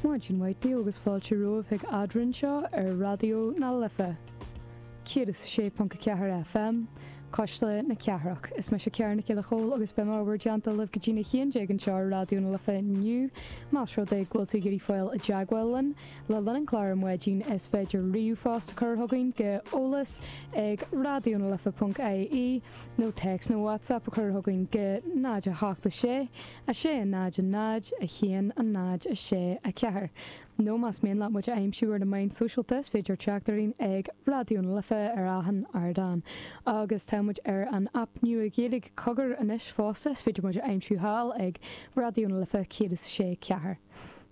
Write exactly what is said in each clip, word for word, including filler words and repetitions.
Maidin mhaith daoibh agus fáilte romhaibh chuig Eadrainn seo ar Raidió na Life. céad is a sé ponc a ceathair FM, Cuisle na Cathrach. Is mise Ciara Nic Giolla Chóill agus beidh mé i bhur dteannta libh go dtína haon déag anseo ar Raidió na Life inniu. Más rud é go bhfuil tú ag iarraidh fáil i dteagmháil linn le linn an chláir ar maidin is féidir ríomhphost a chur chugainn go eolas ag raidionalife ponc ie nó téacs nó WhatsApp a chur chugainn go náid a hocht a sé, a sé a náid a náid, a haon a náid a sé a ceathair. Nó más mian leat muid a aimsiú ar na meáin sóisialta is féidir teacht orainn ag Raidió na Life ar achan ardán. Agus tá muid ar an aip nua Ghaeilge Cogar anois fosta, is féidir muid a aimsiú thall ag Raidió na Life céad is a sé ceathair.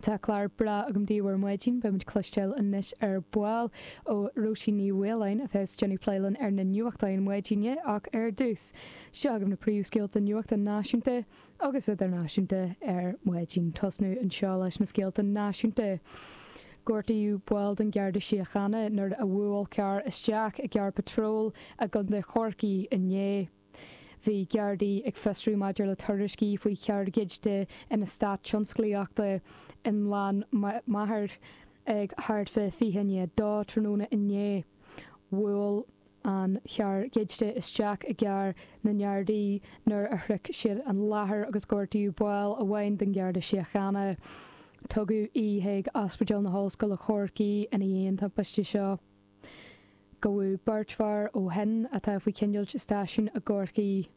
Tá clár breá agam daoibh ar maidin, beidh muid cloisteáil anois ar ball ó Róisín Ní Mhaoláin a bheas ag déanamh plé linn ar na nuachtáin maidine ach ar dtús, seo agaibh na príomhscéalta nuachta náisiúnta agus idirnáisiúnta ar maidin. Tosnú anseo leis na scéalta náisiúnta. Gortaíodh ball den Gharda Síochána nuair a bhuail carr isteach i gcarr patróil i gContae Chorcaí inné. Bhí Gardaí ag fiosrú maidir le tuairiscí faoi charr goidte in eastát tionsclaíochta i nGleann Maghair ag thart fá fiche i ndiaidh a dó tráthnóna inné. Bhuail an charr goidte isteach i gcarr na nGardaí nuair a shroich siad an láthair agus gortaíodh ball amháin den Gharda Síochána. Tugadh í chuig Ospidéal na hOllscoile Chorcaí ina dhiaidh an timpiste seo. Gabhadh beirt fear ó shin atá faoi choinneáil i stáisiún i gCorcaigh.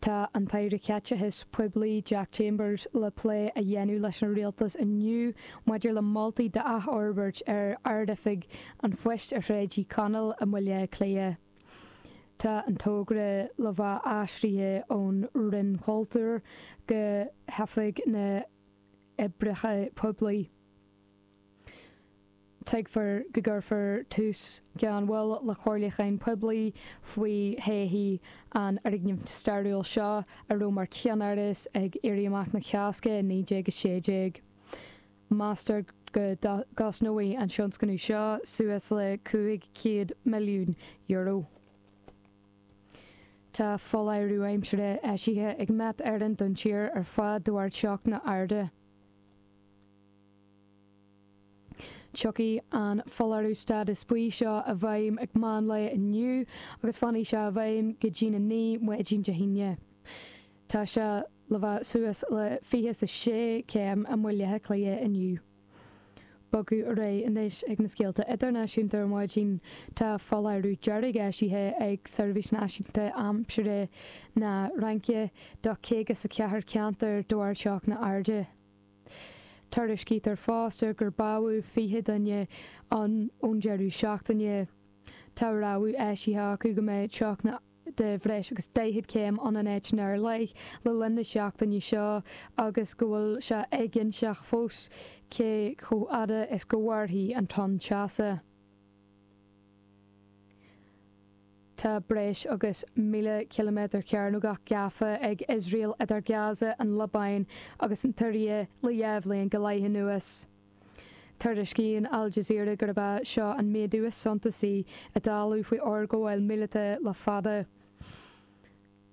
Tá an tAire Caiteachais Poiblí Jack Chambers le plé a dhéanamh leis an Rialtas inniu maidir le moltaí d'athfhorbairt ar Ard-Oifig an Phoist ar Shráid Uí Chonaill i mBaile Átha Cliath. Tá an togra le bheith aistrithe ón Roinn Cultúir go hOifig na nOibreacha Poiblí. Tuigtear go gcuirfear tús gan mhoill le comhairliúchán poiblí faoi thodhchaí an fhoirgnimh stairiúil seo a raibh mar cheannáras ag Éirí Amach na Cásca i naoi déag a sé déag. Meastar go gcosnóidh an tionscnamh seo suas le cúig chéad milliún euro. Tá foláireamh aimsire eisithe ag Met Éireann don tír ar fad de bharr teochtanna arda. Tiocfaidh an foláireamh stádas buí seo i bhfeidhm ag meán lae inniu agus fanfaidh sé i bhfeidhm go dtína naoi maidin Dé hAoine. Tá sé le bheith suas le fiche is a sé céim i mBaile Átha Cliath inniu. Bogadh ar aghaidh anois ag na scéalta idirnáisiúnta ar maidin. Tá foláireamh dearg eisithe ag Seirbhís Náisiúnta Aimsire na Fraince do caoga is a ceathair ceantar de bharr teochtanna arda. Tuairiscítear fosta gur bádhadh fiche duine ann ón deireadh seachtaine. Tá rabhadh eisithe acu go mbeidh teochtanna de bhreis agus daichead céim ann in áiteanna ar leith le linn na seachtaine seo agus go bhfuil sé éiginnte fós cé chomh fada is go mhairfidh an tonn teasa. Tá breis agus míle ciliméadar cearnógach gafa ag Iosrael idir Gaza, an Liobáin agus an tSiria le dhá bhliain go leith anuas. Tuairiscíonn Al Jazeera gurb é seo an méadú is suntasaí i dtalamh faoi fhorghabháil míleata le fada.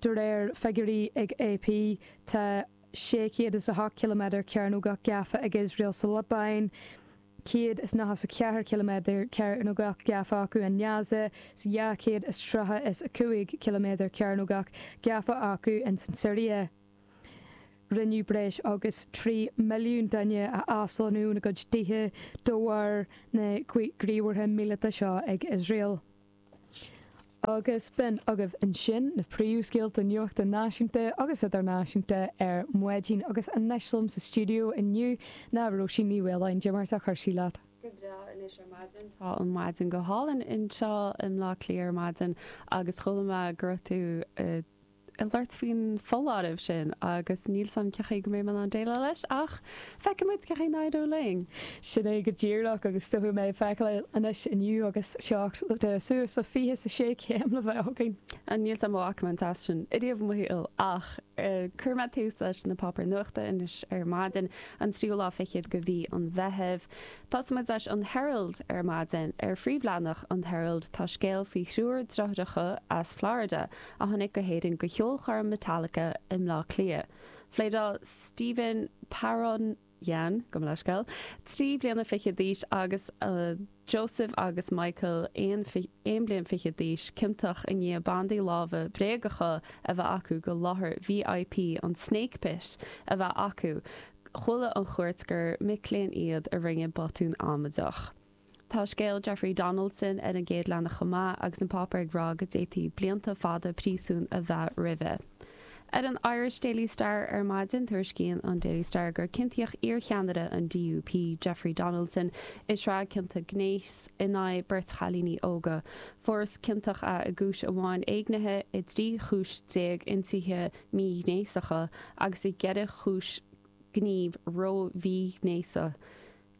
De réir figiúirí ag AP, tá sé chéad is a hocht ciliméadar cearnógach gafa ag Iosrael sa Liobáin, céad is nócha is a ceathair ciliméadar cearnógach gafa acu i nGaza, is dhá chéad is tríocha is a cúig ciliméadar cearnógach gafa acu ins an tSiria. Rinneadh breis agus trí milliún duine a aslonnú óna gcuid tithe de bharr na ngníomhartha míleata seo ag Iosrael. Agus b'in agaibh ansin na príomhscéalta nuachta náisiúnta agus idirnáisiúnta ar maidin agus anois liom sa stiúideo inniu ná Róisín Ní Mhaoláin. Cad é mar atá cúrsaí leat? Go breá anois ar maidin. Tá an mhaidin go hálainn anseo i mBleá Cliath ar maidin agus chuala mé go raibh tú ag labhairt faoin foláireamh sin agus níl 's a'm cén chaoi go mbeidh mé in ann déileáil leis ach feicfidh muid cén chaoi a n-éireoidh linn. Sin é go díreach agus dóigh mé feiceáil anois inniu agus teocht de suas le fiche is a sé céim le bheith againn. Níl 's a'm an bhfaca mé an teas sin ariamh i mo shaol ach cuirfidh mé tús leis na páipéir nuachta anois ar maidin, an tríú lá fichead de mhí an Mheithimh. Tosóidh muid leis an Herald ar maidin. Ar phríomhleathanach an Herald tá scéal faoi thriúr deartháireacha as Florida a tháinig go hÉirinn go cheolchoirm Metallica i mBleá Cliath. Phléadáil Stephen Parun Jan, gabh mo leithscéal, trí bliana fiche d'aois agus Joseph agus Michael aon bliain fiche d'aois, ciontach i ndiaidh bandaí láimhe bréagacha a bheith acu go láthair VIP an Snake Pit a bheith acu. Chuala an chúirt gur mic léinn iad a rinne botún amaideach. Tá scéal Jeffrey Donaldson ar an gcéad leathanach chomh maith agus an páipéar ag rá go d'fhéadfaí blianta fada príosúin a bheith roimhe. Ar an Irish Daily Star ar maidin, tuairiscíonn an Daily Star gur ciontaíodh iarcheannaire an DUP, Jeffrey Donaldson, i sraith cionta gnéis in aghaidh beirt chailíní óga. Fuarthas ciontach é i gcúis amháin éignithe, i dtrí chúis déag ionsaithe míghnéasacha agus i gceithre chúis gníomh ró-mhíghnéasach.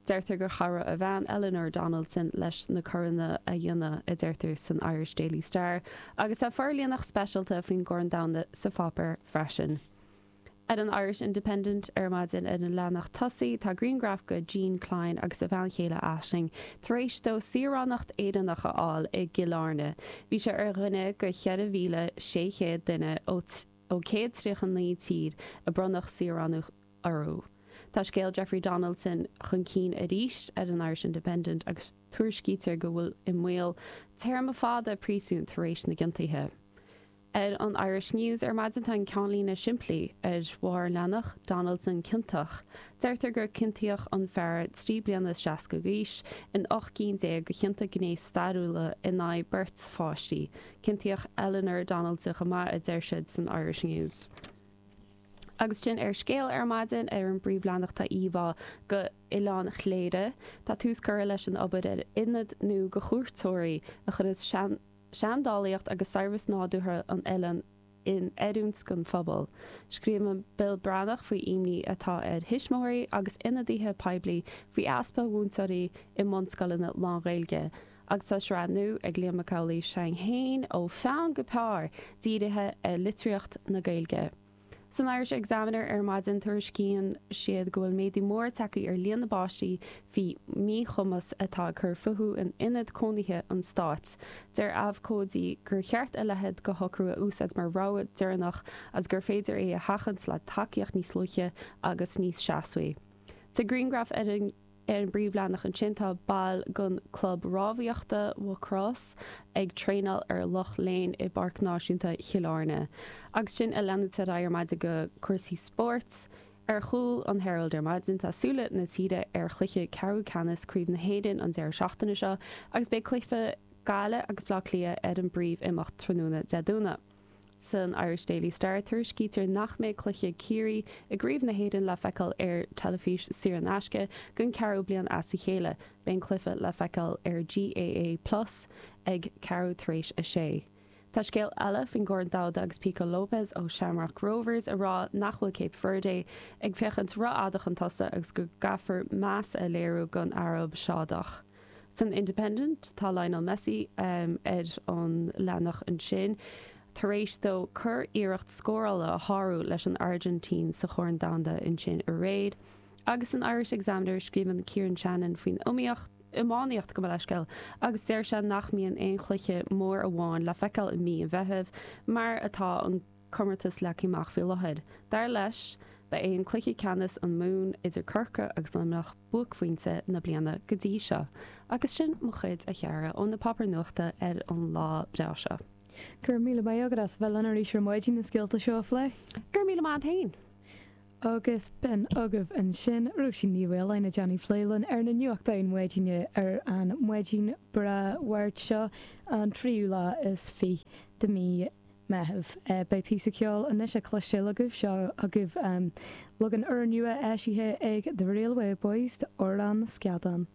Deirtear gur chabhraigh a bhean, Eleanor Donaldson, leis na coireanna a dhéanamh, a deirtear san Irish Daily Star, agus tá forlíonadh speisialta faoin gCorn Domhanda sa pháipéar freisin. Ar an Irish Independent ar maidin ar an leathanach tosaigh tá grianghraf de Jean Klein agus a bhean chéile Aisling tar éis dó saoránacht Éireannach a fháil i gCill Airne. Bhí sé ar dhuine de cheithre mhíle sé chéad duine ó céad tríocha naoi tír a bronnadh saoránacht orthu. Tá scéal Jeffrey Donaldson chun cinn arís ar an Irish Independent agus tuairiscítear go bhfuil i mbaol téarma fada príosúin tar éis na gciontuithe. Ar an Irish News ar maidin tá an ceannlíne simplí ar bharr an leathanach, Donaldson ciontach. Deirtear gur ciontaíodh an fear trí bliana is seasca d'aois in ocht gcinn déag de chionta gnéis stairiúla in aghaidh beirt pháistí. Ciontaíodh Eleanor Donaldson chomh maith, a deir siad san Irish News. Agus sin ar Scéal ar maidin ar an bpríomhleathanach tá íomhá go Oileán Chléire. Tá tús curtha leis an obair ar ionad nua go chuairteoirí a chuirfeas seandálaíocht agus saibhreas nádúrtha an oileáin in oiriúint don phobal. Scríobhann Bill Breathnach faoi imní atá ar thuismitheoirí agus ionadaithe poiblí faoi easpa mhúinteoirí i mbunscoileanna lán-Ghaeilge. Agus tá sraith nua ag Liam Mac Amhlaigh Seang Fhéin ó pheann go pár dírithe ar litríocht na Gaeilge. San Irish Examiner ar maidin tuairiscíonn siad go bhfuil méadú mór tagtha ar líon na bpáistí faoi mhíchumas atá ag cur fúthu in ionad cónaithe an stáit. Deir abhcóidí gur cheart a leithéid de shocrú a úsáid mar rogha deireanach agus gur féidir é a sheachaint le tacaíocht níos luaithe agus níos seasmhaí. Sa ghrianghraf ar an Ar an bpríomhleathanach ansin tá baill den Club Rámhaíochta Mhucrois ag traenáil ar Loch Léin i bPáirc Náisiúnta Chill Airne. Agus sin ag leanúint ar aghaidh ar maidin go cúrsaí spóirt. Ar chúl an Herald ar maidin tá súile na tíre ar chluiche ceathrú ceannais Craobh na hÉireann an deireadh seachtaine seo agus beidh cluiche Gaillimh agus Bleá Cliath ar an bpríomh-imeacht tráthnóna Dé Domhnaigh. San Irish Daily Star, tuairiscítear nach mbeidh cluiche Ciarraí i gCraobh na hÉireann le feiceáil ar teilifís saor in aisce don ceathrú bliain as a chéile. Beidh an cluiche le feiceáil ar GAA Plus ag ceathrú tar éis a sé. Tá scéal eile faoin gCorn Domhanda agus Pico Lopes ó Shamrock Rovers ag rá nach bhfuil Cape Verde ag féachaint rófhada chun tosaigh agus go gcaithfear meas a léiriú don Araib Shádach. San Independent, tá Lionel Messi ar an leathanach ansin. tar éis dó curiarracht scórála a shárú leis an Airgintín sa Chorn Domhanda ansin aréir. Agus san Irish Examiner scríobhann Kieran Shannon faoin iomaíocht, iomaíocht gabh mo leithscéal agus deir sé nach mbíonn aon chluiche mór amháin le feiceáil i mí an Mheithimh mar atá an comórtas leagtha amach faoi láthair. Dar leis, ba é an cluiche ceannais an Mumhan idir Corcaigh agus Luimneach buaicphointe na bliana go dtí seo. Agus sin mo chuid, a chara, ó na páipéir nuachta ar an lá breá seo. Go raibh míle maith agat as a bheith linn arís ar maidin na scéalta seo a phlé. Go raibh míle maith agat féin. Agus b'in agaibh ansin Róisín Ní Mhaoláin ag déanamh plé linn ar na nuachtáin maidine ar an maidin breá Mháirt seo, an tríú lá is fiche de mí Meitheamh. Beidh píosa ceoil anois le cloisteáil agaibh, seo agaibh leagan úrnua eisithe ag The Railway Boys d'Amhrán na Scadán.